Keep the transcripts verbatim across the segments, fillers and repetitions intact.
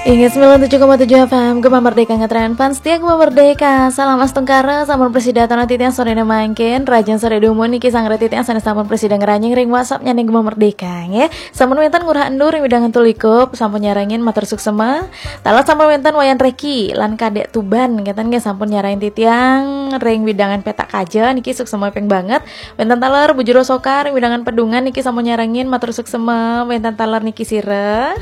Inggih, sembilan tujuh koma tujuh F M, Gema Merdeka, ngetren fans setia Gema Merdeka. Salam astungkara, sampun prasida titiang sorene mangkin. Rahajeng sore dumun niki sang titiang sane sampun prasida ngranjing ring WhatsApp-nyane Gema Merdeka, nggih. Sampun wenten Ngurah Endur ring wewidangan Tulikup, sampun nyarengin, matur suksema. Taler sampun wenten Wayan Reki lan Kadek Tuban, ngeten nggih, sampun nyarengin titiang ring wewidangan Petak Kaja niki, suksema ping banget. Wenten taler Bu Jero Soka ring wewidangan Pedungan niki, sampun nyarengin, matur suksema. Wenten taler niki sira.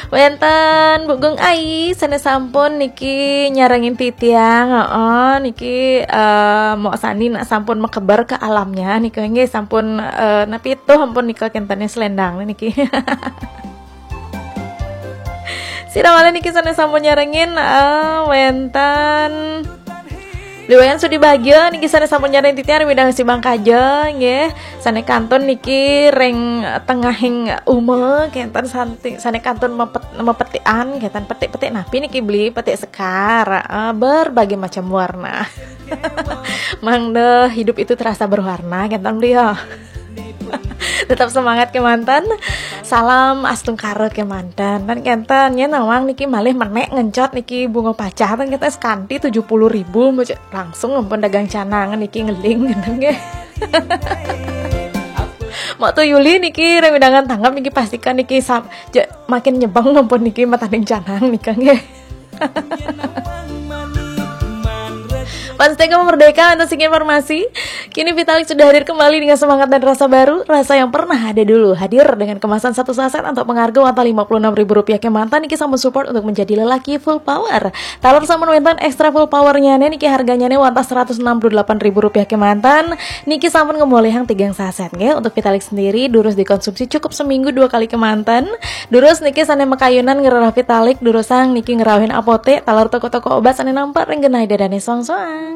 Wenten Bu Gung Ai sane sampun niki nyarengin titiang, heeh, niki, eh, mok sani nak sampun mekeber ke alamnya nika nggih, sampun, eh, napi tuh ampun nika kentene selendang niki. Sira malih niki sane sampun nyarengin, eh, wenten Liwayan Sudi Bagia niki sane sampun nyarengin titiang ring wewidangan Simpang Kaja nggih. Sane kantun niki ring tengahing uma kenten santi, sane kantun mepet, mepetikan kenten, petik-petik napi niki beli, petik sekar, eh, berbagai macam warna. Mangda hidup itu terasa berwarna kenten beli ya. Tetap semangat kemanten. Salam astungkara kemanten. Tan kenten ya, nawang niki malih menek ngencot niki bunga pacah, tan kenten sekanti tujuh puluh ribu, langsung ampun dagang canang niki ngeling ngeten nggih. Mok tu Yuli niki ring wewidangan Tanggap niki, pastikan niki sam-, ja-, makin nyebeng ampun niki matanding canang nika nggih. Fans setia Gema Merdeka, untuk segi informasi, kini Vitalik sudah hadir kembali dengan semangat dan rasa baru, rasa yang pernah ada dulu. Hadir dengan kemasan satu saset untuk pengharga wantah lima puluh enam ribu rupiah kemanten niki, sampun support untuk menjadi lelaki full power. Taler sampun wenten extra full powernya niki, harganya ne wantah seratus enam puluh delapan ribu rupiah kemanten niki, sampun ngemolihang tigang saset nggih. Untuk Vitalik sendiri durus dikonsumsi cukup seminggu dua kali kemanten. Durus niki sane makayunan ngrereh Vitalik, durusang niki ngrauhin apotek, taler toko-toko obat sane nampak ring genah dadane soang-soang.